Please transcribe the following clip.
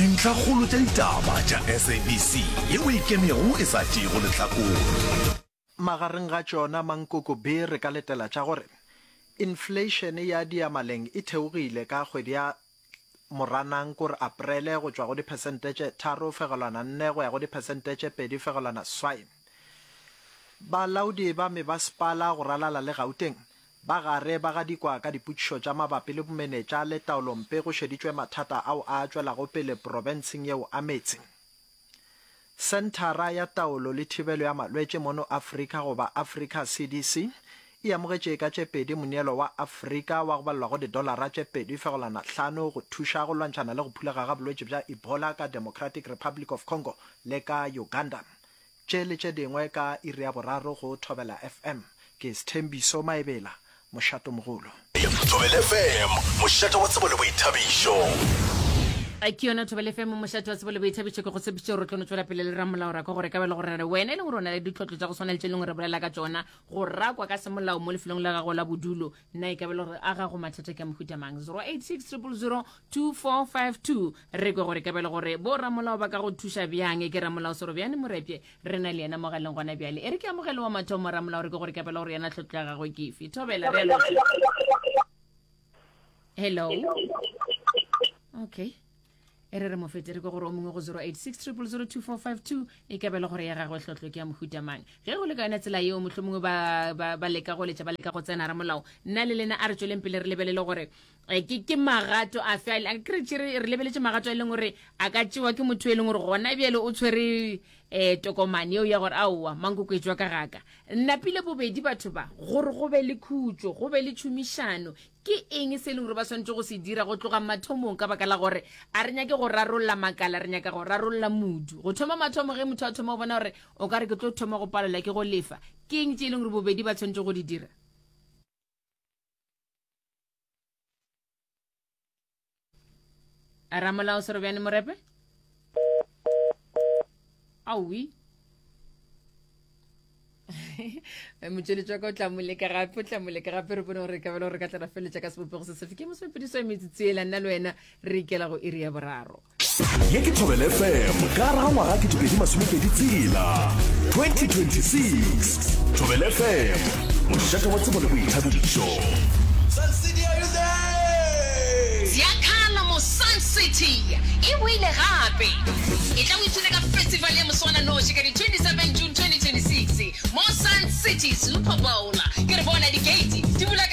Dintlhakgolo tša ditaba tša SABC yeo e ikemego e sa tšeego lehlakore. Magareng ga tšona mankoko B re ka letela tša gore infleišene ya diyamaleng e theogile ka kgwedi ya Moranang kore Aprele go tšwa go diphesente tše 3.4 go ya go diphesente tše 2.8. Balaodi ba mebasepala go ralala le Gauteng ba gare ba gadikwa ka dipotšišo tša mabapi le bomenetša le taolompe go šeditšwe mathata ao a tšwelago pele profenseng yeo a meetse. Senthara ya Taolo le Thibelo ya Malwetši mono Afrika goba Africa CDC e amogetše ka tše pedi moneelo wa Afrika wa go balelwa go didolara tše 2.5 go thuša go lwantšhana le go phulega ga bolwetši bja Ebola ka Democratic Republic of Congo le ka Uganda. Tše le tše dingwe ka iri ya boraro go Thobela FM. Ke Sthembiso Maebela, Mošatomogolo. Thobela FM, mošate wa tsebo le boithabišo. Ke yona Thobela FM, mošate wa tsebo le boithabišo. Ke go tshepišitše gore re tlo no tšwela pele le ramolao ra kwa gore ka ba le gore re wena e leng gore o na le ditlhotlo tša go swana le tše e leng gore re bolela ka tšona go rakwa ka semolao mo lefelong la gago la bodulo na e ka ba le gore a gago mathata ke a mohuta mang 086 000 2452 re kwe gore ka ba le gore bo ramolao ba ka go thuša bjang ke ramolao Sorobjane Morepye re na le yena mogaleng gona bjale e re ke amogele wa mathomo ramolao re ke gore ka ba le gore yena tlhotlo ya gagwe ke efe thobela re a lotšha hello okay e re re mo fete re ke gore o mongwe go 086 0002452 e ka bela gore ya gagwe hlotlo ke ya mohuta mang ge go le ka yona tsela yeo mohlomongwe ba, ba, ba leka go letša ba leka go tsena ramolao nna le lena a re tšweleng pele re lebelele gore eh, ke, ke magato afe a ke re tšere re lebeletše magato a e leng gore a ka tšewa ke motho e leng gore gona bjale o tshwere um tokomane yeo ya gore aowa mankoko e tšwa ka gaka napile bobedi batho ba gore go be le khutšo go be le tšhomišano Ke eng se e leng gore ba swanetše go se dira go tloga mathomong? Ka baka la gore a re nyake go rarolla makala, re nyaka go rarolla modu. Go thoma mathomo ge motho a thoma go bona gore o ka re ke tlo thoma go palelwa ke go lefa, ke eng tše e leng gore bobedi ba tshwanetše go di dira? Ramolao Serobjane Morepe? Aowi. motšweletši wa ka o tla moleka gape o tla moleka gape re bone gore ka bele gore ka tla ra feleletša ka sebopego se sefe ke mosepediso ya metsotso ela nna le wena re ikela go iri ya boraro Ye ke Thobela FM ka gare ga ngwaga 2026 2026. Thobela FM, mošate wa tsebo le boithabišo. Sun City, are you there? Ziakhala mo Sun City e boile gape! Etla o ipshine ka festival ya moswananoši ka di 27 June 2026 mo Sun City Super Bowl. Ke re bona di-gate di bula ka.